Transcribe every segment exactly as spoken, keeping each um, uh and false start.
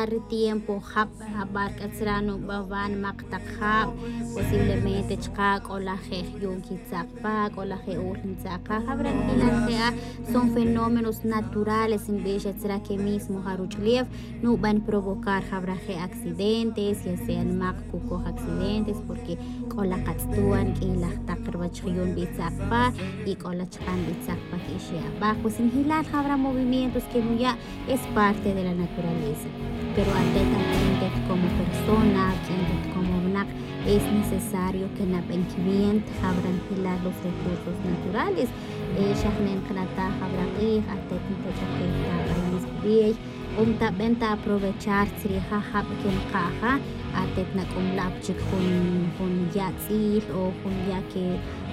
Ri tiempo jab', abar k'a tzra' nubawa' nmaq taq jab', posiblemente chqa' k'ola je' jyun kitzaq' pa, k'ola je' ul ntzaq' qa. Jab'ra nb'ilal je' a, son fenómenos naturales nb'ix a tzra' que mismo ja ruch'lew nub'an provocar jab'ra je' accidentes, ya sea nmaq kukoj accidentes porque k'ola qatz'tuan k'iylaj taq ruwach jyun nb'itzaq' pa, y k'ola chqa' nb'itzaq' pa k'ixi' ab'aj. Pues njilal jab'ra movimientos que nuya' es parte de la naturaleza. Pero atet, atet como persona, atet como winaq, es necesario que nab'en kib'ent jab'ra njilal los recursos naturales. Eh, xa jne' nqnataj jab'ra q'ij, atet ntach'akej ta b'ayis b'ey, o ntab'en ta aprovechar tzrija jab' que nqaja, atet nak'umlab' chik jun, jun ya' tz'il o jun ya' que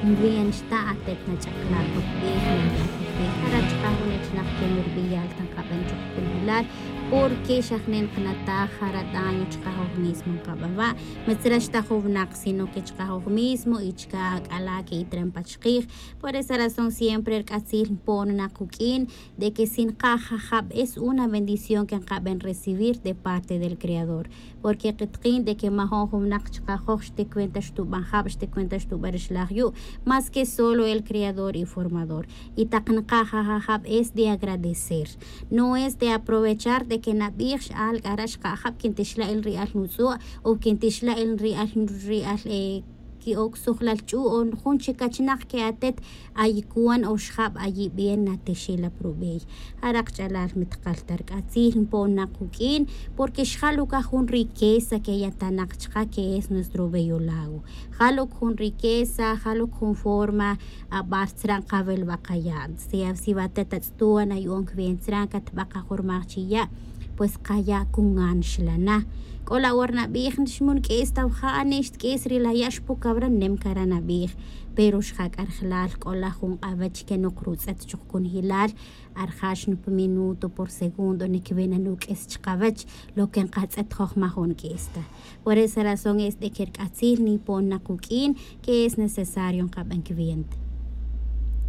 nb'en xta', atet nach'akla' jok b'ey, naya' jok b'ey. Jara' chqa' jun achnaq que nurb'iyal ta nqab'en chuk jun wilal, porque xa jne' nqnataj jara' daño chqa' joj mismo nqab'awa', ma tzra' xta jun winaq, sino que chqa' joj mismo y chka' ak'ala' que itren pa chqij. Por esa razón siempre rk'atzil npo'on na quk'in de que si nqaja jab' es una bendición que nqab'en recibir de parte del Creador. Porque qitqin de que majo'n jun winaq chqa' joj xti cuenta xtub'an jab', xti cuenta xtub'an rixlaj yu', más que solo el Creador y Formador. Y taq nqaja jab' es de agradecer, no es de aprovechar de que nab'ij x'al k'ara' xqa' jab' quintixla' el ri'al nutz'u' o quintixla' el ri'al, ri'al, eh, ki'ok sujlal ch'u' o jun chik achnaq que atet ayicuan o xjab' ayib'en natixilap rub'ey. Jara' kach'alal mi tqal ta rk'atzil npo'on na quk'in, porque xjal uka jun riqueza que yatanaq chqa' que es nuestro bello lago. Jal uka jun riqueza, jal uka jun forma, abar tzra' nqawelwa' qaya'. Si, si wa atet atz'tuan ayu'on kib'en tzra' katb'a' qajurmaj chi ya', pues qaya' kunan xlana. K'ola awor nab'ij, xmun k'is ta wja', ni xtk'is ri la ya' xpu kawra, nem kara' nab'ij. Pero xja k'a rajlal k'ola jun q'awech que noq rutz'et chuk kunjilal, arjax nup minuto por segundo, ni kiwena nuk'is chqawech, lo que nqatz'et joj majo'n k'is ta. Por esa razón es de que rk'atzil nipo'n na quk'in que es necesario nqab'an kib'ent.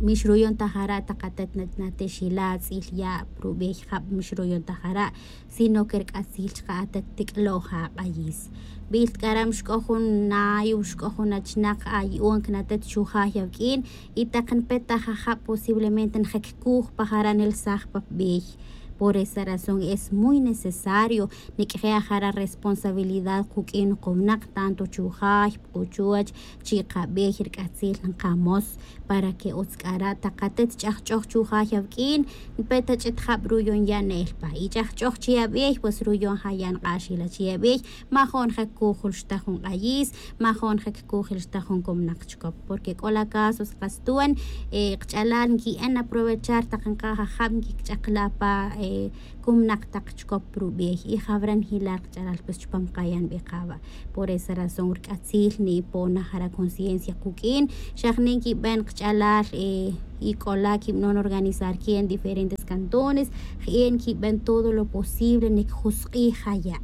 Mi xruyon ta jara' taq atet na-, natixila' tz'il ya' rub'ey jab', mi xruyon ta jara', sino que rk'atzil chqa' atet tik'loj aq'ayis. B'il k'aram xk'o jun nay o xk'o jun achnaq ayu'on kan atet chujay awk'in, y taq npe ta jajab' posiblemente nje' kkuj pa jara' nelsaj pa pb'ey. Por esa razón es muy necesario nik'je' ajara' responsabilidad quk'in qowinaq, tanto chujay, puquchuwach, chi' qab'ey, rk'atzil nqamos para que utz k'ara' taq atet ch'ajch'oj chujay awk'in, npe ta ch'it jab' ruyon ya' ne'el pa. Y ch'ajch'oj chi' ab'ey, pues ruyon ja ya' nq'axila chi' ab'ey, majo'n ja kujul xta jun q'ayis, majo'n ja kujul xta jun komnaq chkop. Porque k'ola casos qas tuan, eh, qch'alal nki'en aprovechar taq nqa jajab' nkikch'akla' pa, eh, komnaq taq chkop rub'ey. Y jawra njilal qch'alal pues chupam qaya' nb'i qawa'. Por esa razón rk'atzil nipo'n na jara' conciencia quk'in, xa jne' nkib'en qch'alal, eh, y k'ola kib'anon organizar ki'en diferentes cantones, ki'en kib'en todo lo posible nikjusq'ij jaya'.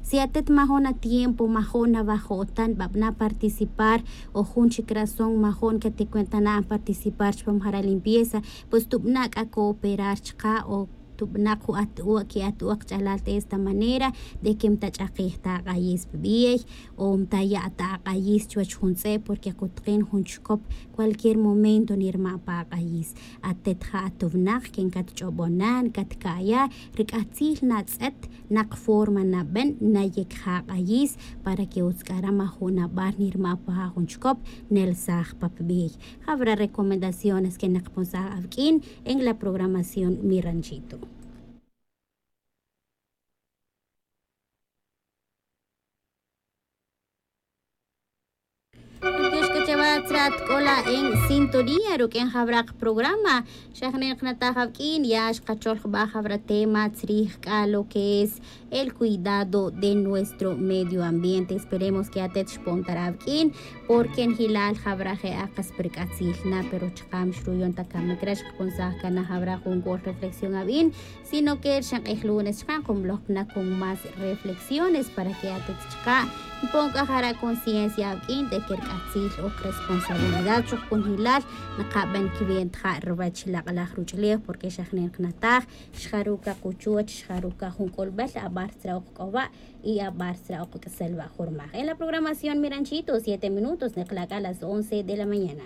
Si atet majo'n atiempo, majo'n awajo'tan, b'ab'na' participar, o jun chik razón majo'n katikwenta na'an participar chupam jara' limpieza, pues tub'na' k'a cooperar chqa' o tub'na' ju at-u-, ki'at-u-, qch'alal de esta manera de que mtach'akij ta aq'ayis pb'ey o mtaya' ta aq'ayis chuwach jun tz'e, porque qutqin jun chkop cualquier momento nirma' pa aq'ayis. Atet ja atowinaq que nkatch'ob'on na, nkatka'ya, rk'atzil natz'et naq forma nab'en nayek ja aq'ayis para que utz k'ara' majo'n ab'ar nirma' pa ja jun chkop nelsaj pa pb'ey. Jawra recomendaciones que naqponsaj awk'in en la programación Mi Ranchito. Tyox k'a chawa tzra' tk'ola' en sintonía ruk'in jawra qaprograma. Xa jne' nqnataj awk'in, ya xqachol jab'a jawra tema tzrij k'a lo que es el cuidado de nuestro medio ambiente. Esperemos que atet xpon ta ra awk'in, porque njilal jawra je' a qas pa rk'atzil na, pero chqa' mi xruyon ta kamik re' xqaponsaj kan na jawra junk'ol reflexión awin, sino que rixin q'ij lunes chqa' nqumloj kan na con más reflexiones para que atet chqa' npon k'a jara' conciencia awk'in de que rk'atzil ok respeto responsabilidad chuj kunjilal nakaben kiben ta ruwech lak'alaj ruch'ulej porque xa jnen kanataj xjaru' kakuchuch xjaru' kajun k'olbel abar tzra' k'oba' y abar tzra' k'isel wa' jurmaj en la programación miranchito siete minutos nekla' k'a las once de la mañana.